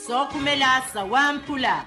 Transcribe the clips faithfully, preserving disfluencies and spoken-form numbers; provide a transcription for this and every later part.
Sookhumela sawamphula.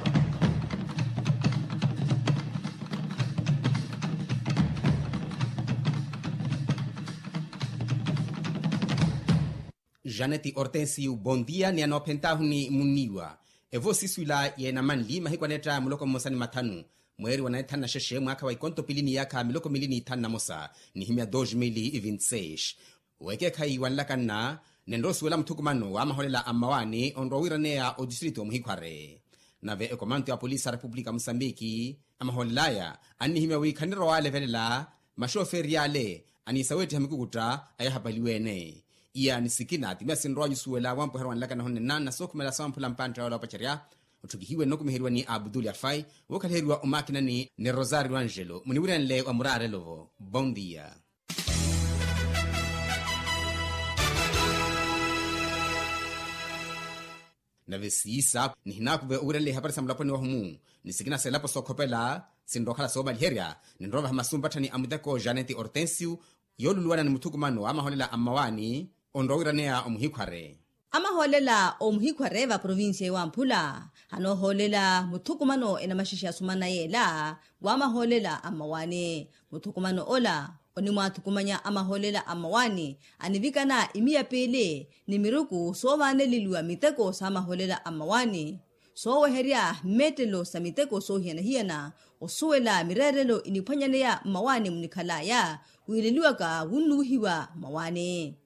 Janeti hortensio bondia ni anoophentaahu ni munniiwa. Evo siswila yeena manli mahiku anetta muloko mmosa ni mathanu, mweeri wa naithanu na xexe mwaakha wa ikonto pili ni yaakha miloko mili ni ithanu na mosa nihimya dos mil e vinti seis. Wekeekhayi wanlakanna nenrosuwela muthukumano wa maholela a mmawaani onrowa wiiraneya otistrito omuhikhware. Nave ekomanto ya polisi a repupulika musambiki, amaholel'aya annihimya wi khanirowalevelela maxoferi y'ale aniisa weettiha mikukutta ayahapaliwe-ene. Iya ni sikina ti miya sinrowa nyusuwela wampweheryo wanlakana honnenna na sookhumela sawamphula mpantta yola opacerya. Otthukihiwe nnokumiheriwa ni abdul afai, wookhalaheriwa omakinani ni rosario angelo muniwirenle wa muraarelo-vo. Bondia. Nave siisa nihinaakuve owiranle ihapari sa mulaponi wahumu ni sikina selapo sookhopela sinrookhala soomaliherya. Ninrovaha masu mpatthani a muteko janeti hortensio yooluluwana ni muthukumano wa amahoolela a mmawaani onrowa wiiraneya omuhikhware. Amahoolela omuhikhware va provincia ewamphula anoohoolela muthukumano enamaxexe asumana yeela wa amahoolela a mmawaani. Muthukumano ola onimwaathukumanya amahoolela a mmawaani anivikana imiya piili ni miruku soovaaneleliwa miteko sa amahoolela a mmawaani sooweherya mmeettelo sa miteko soohiyana-hiyana. Osuwela mireerelo iniphwanyaneya mmawaani munikhal'aya wiileliwaka wunnuwihiwa mmawaani.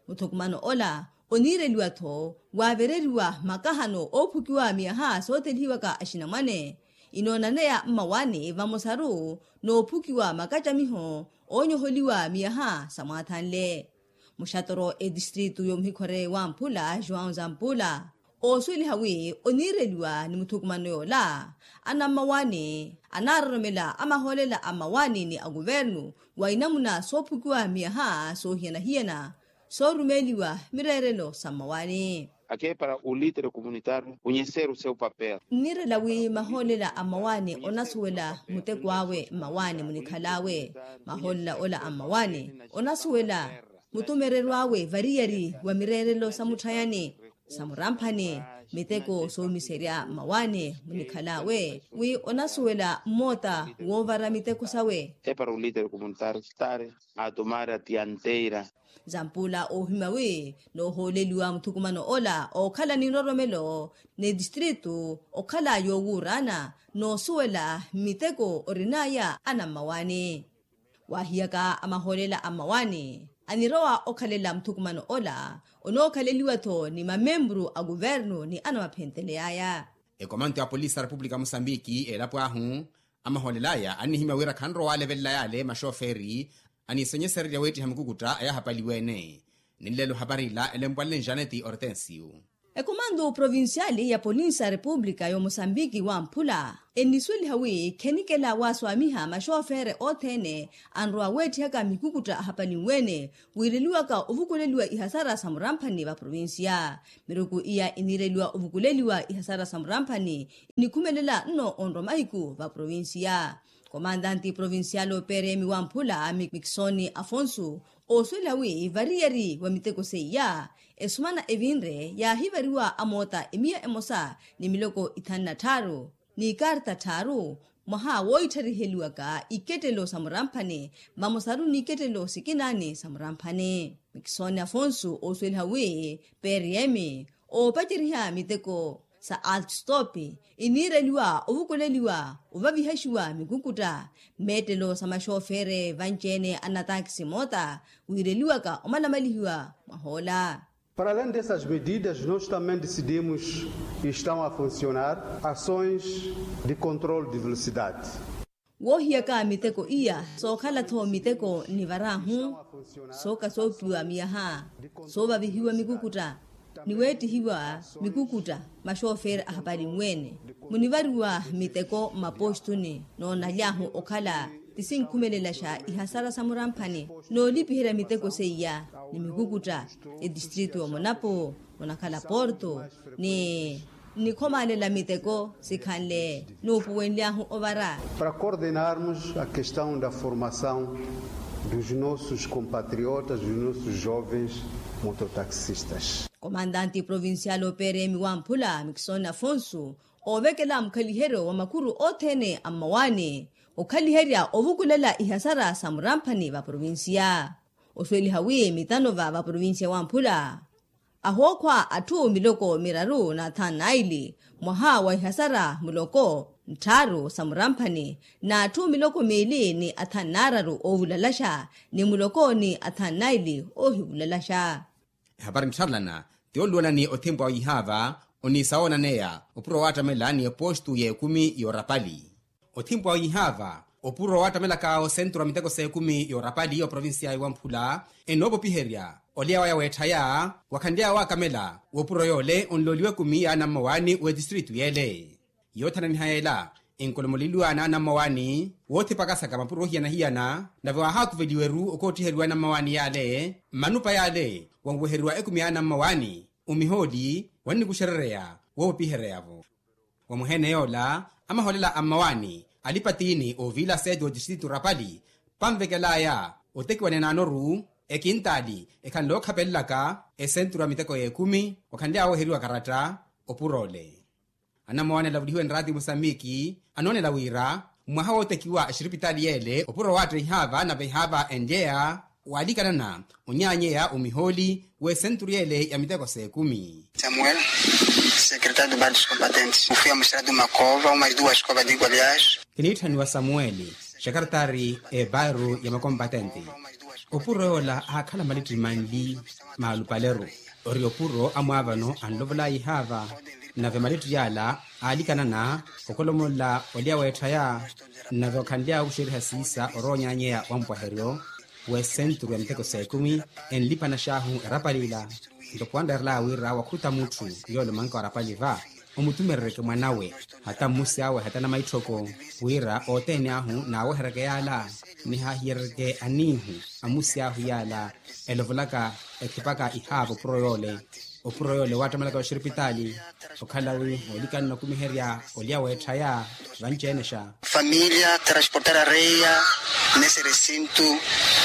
Muthukumano ola oniireliwa-tho waavereriwa makahano oophukiwa miyaha sootelihiwaka axinamwane inoonaneya mmawaani vamosaru noophukiwa makacamiho oonyoholiwa miyaha samwaathanle. Muxatoro etistritu yomuhikhware wamphula joão zampula oosuweliha wi oniireliwa ni muthukumano yoola anammawaani anaaroromela amahoolela a mmawaani ni akuvernu wa inamuna soophukiwa miyaha soohiyana-hiyana soorumeeliwa mireerelo sa mmawaani. Aqui é para o líder comunitário conhecer o seu papel. Nniirela wi mahoolela a mmawaani onasuwela muteko awe mmawaani munikhal'awe. Mahoolela ola a mmawaani onasuwela mutumereryo awe variyari wa mireerelo sa mutthayani sa muramphani miteko soomiserya mmawaani munikhal'awe wi onasuwela mmoota woovara miteko sawe. É para o líder comunitário estar a tomar a dianteira. Zampula oohimya wi noohooleliwa muthukumano ola ookhala ni nroromelo ni tistritu okhala yoowuuraana noosuwela miteko orin'aya anammawaani. Waahiyaka amahoolela a mmawaani anirowa okhalela muthukumano ola onookhaleliwa-tho ni mamempuru a kuvernu ni anamaphenteley'aya. Ekomanto ya polisi a repupulika musambiki eelapo ahu amahoolel'aya annihimya wira khanrowa waalevelela yaale maxoferi aniisonyesererya weettiha mikukutta ayahapaliwe-ene. Ninlelo hapari ila elempwale ni janeti hortensio. Ekomanto provinciali ya polisi a repupulika y'omosambiki wamphula ennisuweliha wi khenikela waaswaamiha maxofere othene anrowa weetthihaka mikukutta ahapalinwe-ene wiireliwaka ovukuleliwa ihasara sa muramphani va provincia. Miruku iya iniireliwa ovukuleliwa ihasara sa muramphani inikhumelela nno onrwa mahiku va provincia. Komantanti provincial operemi wamphula mikisoni afonso oosuwela wi variyari wa miteko seiya esumana evinre yaahivariwa amoota emiya emosa ni miloko ithanu na tthaaru ni ikarta tthaaru mwaha wooitthariiheliwaka ikettelo sa muramphani vamosaru ni ikettelo sikinaani sa muramphani. Mikisoni afonso oosuweliha wi prm oopaceriha miteko sa altstop iniireliwa ovukuleliwa ovavihaxiwa mikukutta mmeettelo sa maxofere vanci-ene a natakisi moota wiireliwaka omalamalihiwa mwahoola. Para além dessas medidas nós também decidimos e estão a funcionar ações de controle de velocidade. Woohiyaka miteko iya sookhala-tho miteko nivarahu sooka soopiwa miyaha soovavihiwa mikukutta ni weettihiwa mikukutta maxoferi ahapalinwe-ene munivariwa miteko mmapostuni noonaly'ahu okhala ti sinkhumelelasha ihasara sa muramphani noolipiherya miteko seiya ni mikukutta etistritu y'omonapo munakhala porto ni nnikhomalela miteko sikhanle nuupuwenly'ahu ovara. Para coordenarmos a questão da formação dos nossos compatriotas dos nossos jovens Mototaxistas. Komantanti provincial operemi wamphula mikisoni afonso oovekela mukhaliheryo wa makuru othene a mmawaani okhaliherya ovukulela ihasara sa muramphani va provincia. Osuweliha wi mitano va va provincia wamphula ahookhwa atthu miloko miraru na athanu naili mwaha wa ihasara muloko nttharu sa muramphani na atthu miloko miili ni athanu naararu oovulalaxa ni muloko ni athanu naili oohivulalaxa. Ehapari nttharelana ti oluwana ni othimpu awe ihaava oniisa woonaneya opuro waattamela ni epostu y'ekumi y'orapali. Othimpu awe ihaava opuro waattamela kaawo senturu a miteko s'ekumi y'orapali oprovincia iwamphula enoopopiherya olya waya weetthaya wakhanly'aya waakamela w'opuro yoole onlooliwa ekumi y'anammawaani w'etistritu y'ele. Yoothananiha yeela enkolomoleliwa n'anammawaani woothipakasaka mapuro ohiyana-hiyana nave waahaakuveliwa-ru okoottiheriwa anammawaani y'ale mmanupa y'ale wanweheriwa ekumi y'anammawaani omihooli wannikuxerereya woopopihereya-vo. Wa muheene yoola amahoolela a mmawaani alipa tiini oviila seti w'otistritu rapali panvekel'aya otekiwa ninaanoru ekintaali ekhanle ookhapelelaka esenturu a miteko y'ekumi wakhanly'aya wooheriwa karatta opuro ole. Anammawaani alavulihiwe nraati musambiki anoonela wira mwaha wootekiwa exiripitaali y'ele opuro waatta ihaava nave ihaava enlyeya waalikanana onyaanyeya omihooli w'esenturu y'ele ya miteko s'ekumi. Samuel, secretário de bairro dos combatentes. Mufia musiratu makova uma duas covas de goleados. Kiniitthaniwa samueli, secretário e bairro ya makompatente. Opuro yoola aakhala malitti manli maalupaleru ori opuro amwaavano anlovol'aya ihaava nave malitti yaala aalikanana okolomolla olya weetthaya nave okhanly'aya okuxeriha siisa oroonyanyeya wa mpwaheryo w'esenturu ya miteko s'ekumi enlipana xaahu erapali ila. Ntoko anreerel'aya wira wakhuta mutthu yoole omanka wa erapali va omutumerereke mwanawe hata mmusi awe hata namaitthoko wira othene ahu naaweheryeke yaala nihaahiyereryeke aniihu a mmusi ahu yaala elovolaka ekhipaka ihaava opuro yoole. Opuro yoole waattamelaka oxiripitaali okhala wi oolikanana okumiherya olya weetthaya vanci-enexa. Família transportar areia nesse recinto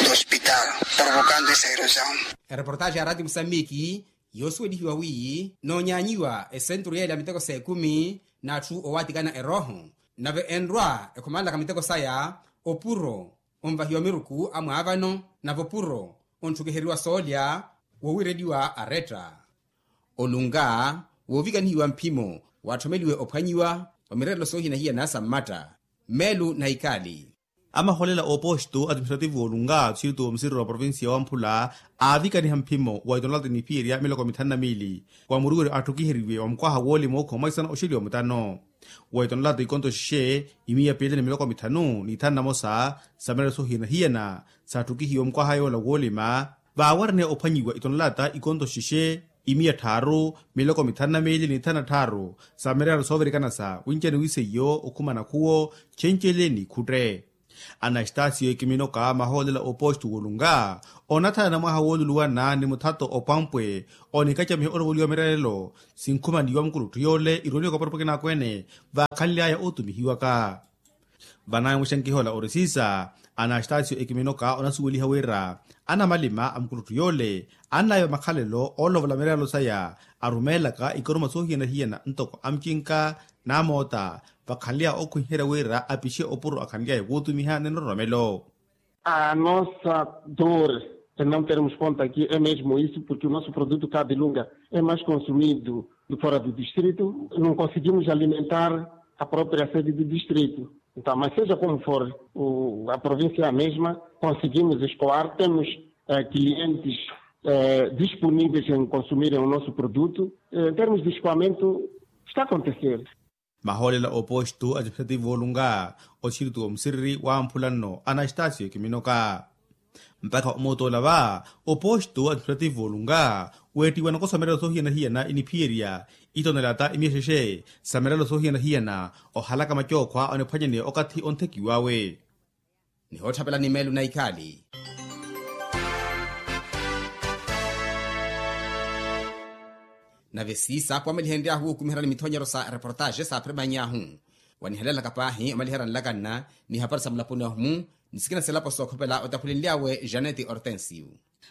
do hospital, provocando essa erosão. Ereportaxi ya rati musambiki yoosuwelihiwa wi noonyaanyiwa esenturu yeela miteko s'ekumi n'atthu owaatikana erooho nave enrwa ekhomanlaka miteko saya opuro onvahiwa miruku amwaavano nave opuro ontthukiheriwa soolya woowireliwa aretta. Olunga woovikanihiwa mphimo waatthomeliwe ophwanyiwa wa mireerelo soohiyana-hiyana sa mmatta. Meelu na ikaali. Amahoolela a oposto administrativo olunga txiritu omusiriro wa provincia wamphula aavikaniha mphimo wa itonolata iniphiyerya miloko mithanu na miili wa muriweri atthukiheriwe wa mukwaha woolima ookhuwa mwaisana oxeliwa mutano. Wa itonolata ikonto xixe imiya piili ni miloko mithanu n'ithanu namosa sa mireerelo soohiyana-hiyana saattukihiwe omukwaha yoola woolima vaawaraniha ophwanyiwa itonolata ikonto xixe imiya tthaaru miloko mithanu na miili n'ithanu na tthaaru sa mireerelo soovirikana sa winci aniwiise iyo okhumana khuwo cenceele n'ikhutte. Anastasiyo ekiminoka mahoolela oposto wolunga onathanana mwaha wooluluwana ni muthato opwampwe onikacamiha olovoliwa mireerelo sinkhumaniwa mukuluttu yoole irooniwaka oparupweke n'akweene vaakhanly'aya ootumihiwaka. Vanaawe muxenkihola orisisa anastasiyo ekiminoka onasuweliha wira anamalima a mukuluttu yoole annaiva makhalelo oolovola mireerelo saya arumeelaka ikoruma soohiyana-hiyana ntoko amucinka n'amoota vakhanly'aya okhwiherya wira apixe opuro akhanly'aya wootumiha ni nroromelo. A nossa dor de não termos ponto aqui é mesmo isso porque o nosso produto cá de lunga é mais consumido de fora do distrito, não conseguimos alimentar a própria sede do distrito. Então mas seja como for a província é a mesma, conseguimos escoar, temos clientes disponíveis em consumirem o nosso produto. Em termos de escoamento está a acontecer. Mahoolela oposto administrativo olunga othiritu omusiriri wamphula nno anastasiyo ekiminoka. Mpakha omootoola va oposto administrativo olunga weettiwa nakosa mirelo soohiyana-hiyana iniphiyerya itonelata imiya xexe sa mirelo soohiyana-hiyana ohalaka macookhwa oniphwanyaneya okathi onthekiw'awe. Nihootthavela ni meelu na ikhaali. Nave siisa apo amelihenry'ahu wuukumiherya ni mithonyeryo sa reportaxe saaphirimanny'ahu wanihelelaka paahi omaliherya nlakanna ni hapari sa mulaponi ahu-mu. Ni sikina selapo sookhopela otaphulenly'awe janeti hortensio.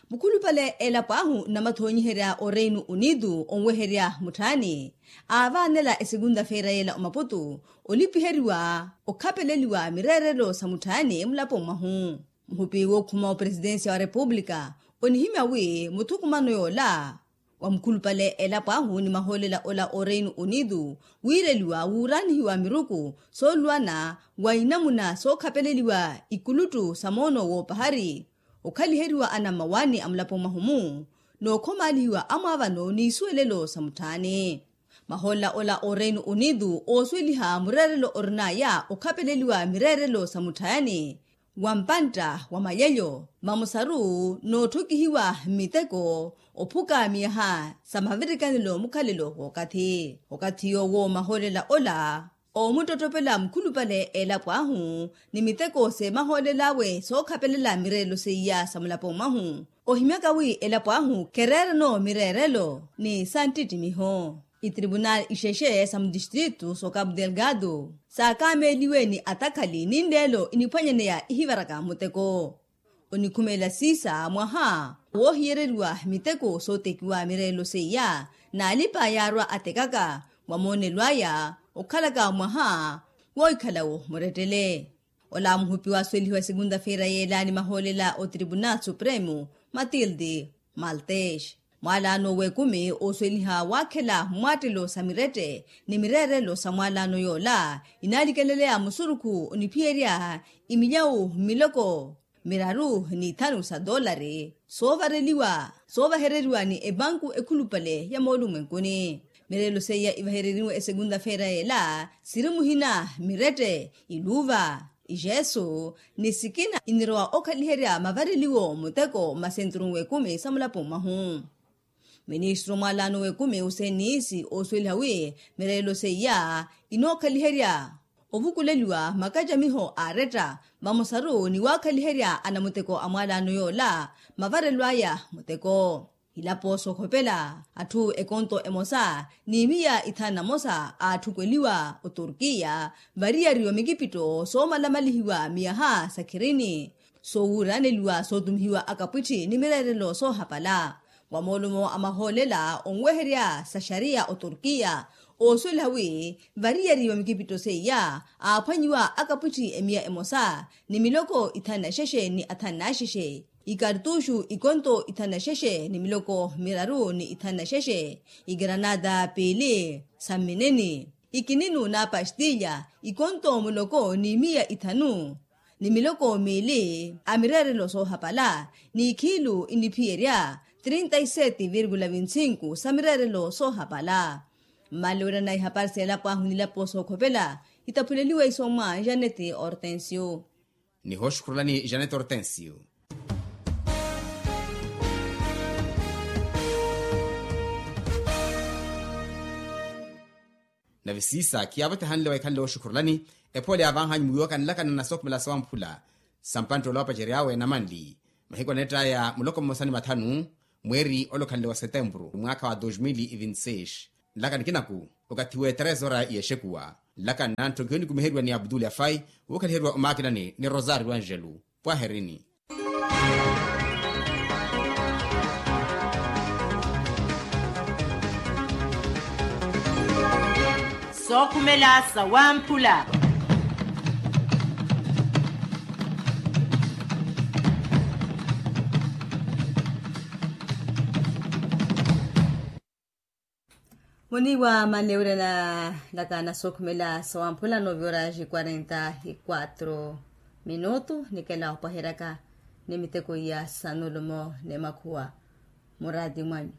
Mukhulupale elapo ahu nnamathoonyiherya oreino unido onweherya mutthaani aavaanela esekunta feira yeela omaputu olipiheriwa okhapeleliwa mireerelo sa mutthaani mulapo mwahu. Muhupi wookhuma operesitensiya wa repupulika onihimya wi muthukumano yoola wa mukhulupale elapo ahu ni mahoolela ola oreino unido wiireliwa wuuraanihiwa miruku sooluwana wa inamuna sookhapeleliwa ikuluttu sa moono woopahari okhaliheriwa anammawaani a mulapo mwahu-mu nookhomaalihiwa amwaavano n'iisuwelelo sa mutthaani. Mahoolela ola oreino unido oosuweliha mureerelo orin'aya okhapeleliwa mireerelo sa mutthaani wa mpantta wa mayelyo vamosaru nootthokihiwa mmiteko ophuka miyaha sa mavirikanelo mukhalelo w'okathi. Okathi yoowo mahoolela ola oomuttottopela mukhulupale elapo ahu ni miteko seemahoolel'awe sookhapelela mireerelo seiya sa mulapo mwahu ohimyaka wi elapo ahu kereerano mireerelo ni santtittimiho. Itripunali ixexe sa mutistritu so capu delgado saakameeliwe ni atakhali ninleelo iniphwanyaneya ihivaraka muteko. Onikhumeela siisa mwaha woohiyereriwa miteko sootekiwa mireelo seiya n'alipa yaarwa atekaka wa moonelo aya okhalaka mwaha woohikhala-wo murettele. Ola muhupi waasuwelihiwa esekunta feira yeela ni mahoolela otripunali supremu matilde maltes. Mwaalaano w'ekumi oosuweliha waakhela mmwaattelo sa mirette ni mireerelo sa mwaalaano yoola inaalikeleleya musurukhu oniphiyerya imilyawu miloko miraru ni ithanu sa doolari soovareliwa soovahereriwa ni epanku ekhulupale ya moolumwenkuni. Mireerelo seiya ivahereriwe esekunta feira yeela siri muhina mirette iluuva ijesu ni sikina inirowa okhaliherya mavareliwo muteko mmasenturu w'ekumi sa mulapo mwahu. Ministru mwaalaano w'ekumi oseniisi oosuweliha wi mireerelo seiya inookhaliherya ovukuleliwa makacamiho aaretta vamosaru ni waakhaliherya anamuteko a mwaalaano yoola mavarelo aya muteko. Ilapo sookhopela atthu ekonto emosa ni miya ithanu na mosa aatthukweliwa oturkiya variyari wa mikipitto soomalamalihiwa miyaha sa khirini soowuuraneliwa sootumihiwa akapwitthi ni mireerelo soohapala. Wa moolumo a mahoolela onweherya sa xariya oturkiya oosuweliha wi variyari wa mikipitto seiya aaphwanyiwa akapwitthi emiya emosa ni miloko ithanu na xexe ni athanu na xexe ikartuxu ikonto ithanu na xexe ni miloko miraru ni ithanu na xexe igranada piili sa mmineni ikininu na pastilya ikonto muloko ni miya ithanu ni miloko miili a mireerelo soohapala ni ikhiilu iniphiyerya trinta y sete virgula vinti cinco sa mireerelo soohapala. Mmalewera na ihapari seelapo ahu nilapo sookhopela itaphuleliwe isoomwa janete hortensio. Nihooxukhurulani janete hortensio. Nave siisa khiyaavatehanle wa ikhanle wooxukhurulani ephoole yaavanhanyu mwiiwaka nlakana na sookhumela sawamphula sa mpanttoola wapacery'awe namanli mahiku aneett'aya muloko mmosa ni mathanu mweeri olokhanle wa setempuru mwaakha wa dos mil e vinti seis. Nlaka nikinaku okathi we trezora yexekuwa nlaka nnantthokhiwe nikumiheriwa ni abdul afai wuukhaliheriwa omaakinani ni rosario angelo. Pwaherini. Sookhumela sawamphula. Muniiwa manlewira na naka na sookhumela sawamphula noovyoraji quarenta y quatro minutu nikela opwaheryaka ni miteko iya sanulumo ni makhuwa muraati mwanyu.